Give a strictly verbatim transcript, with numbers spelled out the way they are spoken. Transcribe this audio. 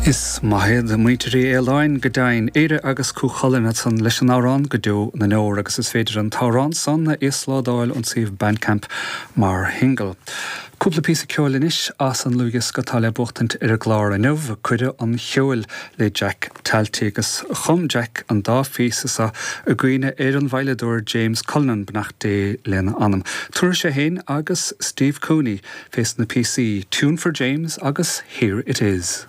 Is maith iad muintir Uí Fhaoláin go deimhin Éire agus Cú Chulainn ansan leis an amhrán go deo na ndeor agus is féidir an t-amhrán san a íoslódáil ón suíomh Bandcamp mar shingil. Cúpla píosa ceoil anois as an dlúthdhiosca atá le buachtaint ar an gclár inniu Cuireadh an Cheoil le Jack Talty agus chum Jack an dá phíosa seo i gcuimhne ar an veidhleadóir James Cullinan beannacht Dé lena anam. Tabharfaidh sé féin agus Steve Cooney fés na píosaí Tune for James agus Here It Is.